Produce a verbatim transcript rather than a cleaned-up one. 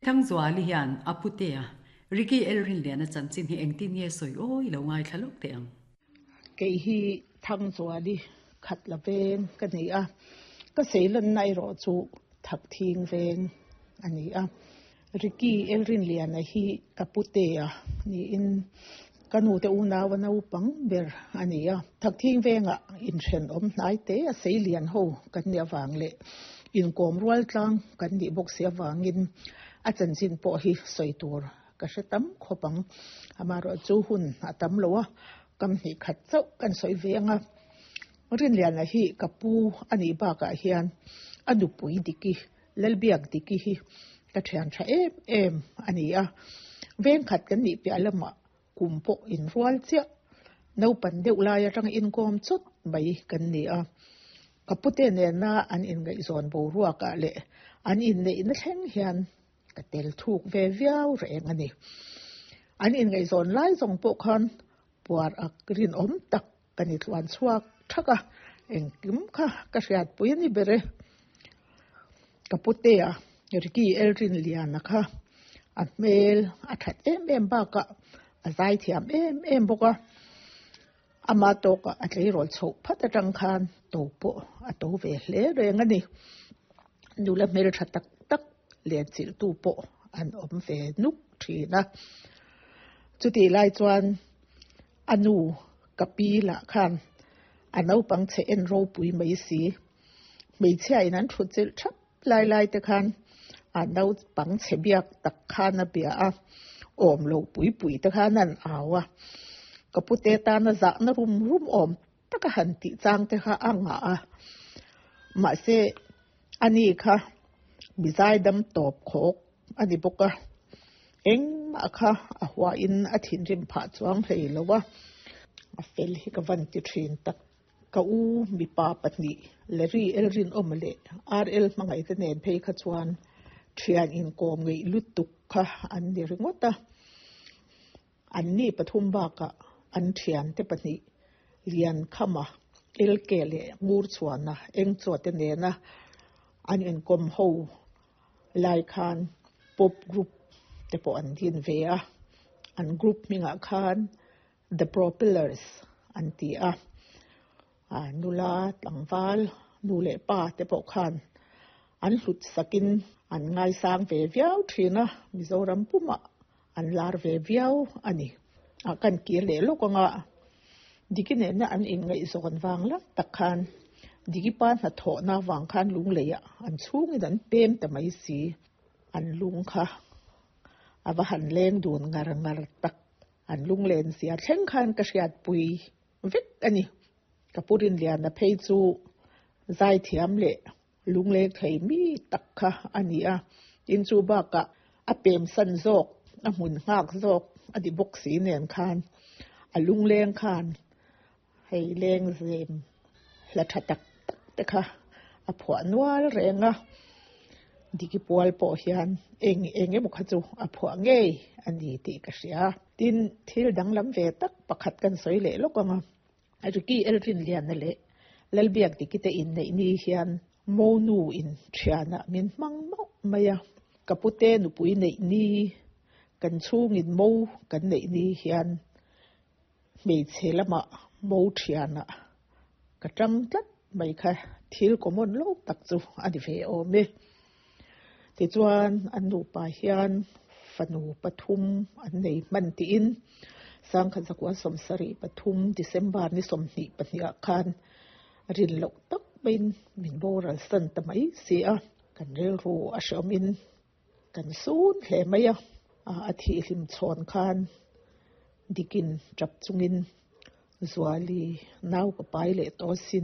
Thangzuali hian a putea Ricky Elrinliana chanchin hi engtin nge sawi awi lo ngaithla lawk teh ang. Kei hi Thangzuali Khatla veng ka ni a, ka seilanna erawh chu Thakthing veng a ni a. Ricky Elrinliana hi ka putea niin ka nute unaua naupang ber a ni a. Thakthing vengah inthenawm hnai te a seilian ho kan nih avang leh inkawm rual tlang kan nih bawk si avangin a chanchin pawh hi sawi tur ka hre tam khawp ang. Amaherawhchu hun a tam lo a, kam hnih khat chauh kan sawi ve ang a. Rinliana hi ka pu a nih bakah hian a nupui Diki, Lalbiak Diki hi ka thian tha em em a ni a. Veng khat kan nih piah lamah kum pawh inrual chiah, naupan deuh lai atanga inkawm chawt mai kan ni a. Ka pute nena an inngaihzawn boruakah leh an inneihna thleng hian ka tel thuk ve viau reng a ni. An inngaihzawn lai zawng pawh khan puar ak rinawm tak ka ni tluan chhuak thak a, engkim kha ka hriatpui a ni ber e. Ka putea Ricky Elrinliana kha a hmel a that em em bakah a zaithiam em em bawk a, ama tawkah a tleirawl chhoh phat atang khan to pawh a to ve hle reng a ni. Nula hmeltha tak tak lenchilhtu pawh an awm ve nuk thin a. Chutih lai chuan a nu ka pi lah khan a naupang chhe en ropui mai si. Hmeichhia in an thut chilh thap lai lai te khan a naupang chhe biak tak khan a bia a, awm lo pui pui te khan an au a. Ka pute tana zahna rum rum awm taka han tih chang te kha a ngah a. Mahse ani kha mi zaidam tawp khawk a ni bawk a, engmah kha a huahin a thinrim phah chuang hlei lo a, a fel hi ka van ti thin tak. Ka u mipa pahnih Larry Elrinawma leh R L Hmangaihte nen phei kha chuan thian inkawm ngeih lutuk kha an ni ringawt a. An ni pathum bakah an thiante pahnih Liankhama, L K leh Ngurchhuana Engchuate nena an inkawm ho lai khan pop group te pawh an din ve a, an group hmingah khan The Propellers an ti a. Nula tlangval nu leh pa te pawh khan an hlut sakin an ngaisang ve viau thin a, Mizoram pumah an lar ve viau a ni. Kan kir leh lawk anga Diki nena an inngaihzawn vang lak tak khan Diki pa hnathawhna vang khan lungleiah an chhungin an pem ta mai si. An lung kha a va han leng dun ngar ngar tak. An lunglen zia thleng khan ka hriatpui vek a ni. Ka pu Rinliana phei chu zaithiam leh lungleng thei mi tak kha a ni a. Tin chu bakah a pemsan zawk, a hmun nghak zawk a ni bawk si nen khan a lungleng khan hei lengzem hla tha tak tak te kha a phuah nual reng a. Diki pual pawh hian eng eng emaw kha chu a phuah ngei a ni tih ka hria. Tin, thil danglam ve tak pakhat kan sawi leh lawk ang a. Ricky Elrinliana leh Lalbiak Diki te inneih ni hian Monu in thianah min hmang mauh mai a. Ka pute nupui neih ni, kan chhungin mo kan neih ni hian hmeichhe lamah mo thianah ka tang tlat mai kha thil common lo tak chu a ni ve awm e. Tichuan an nupa hian fanu pathum an nei hman tiin Sangkhat zakua sawmsarih pathum December ni sawmhnih pahnih ah khan rin loh tak maiin min boral san ta mai si a, kan rilru a hreawmin kan sun hle mai a. A thihhlim chhawn khan dikin tap chungin Zuali nau ka pai leh tawh sin.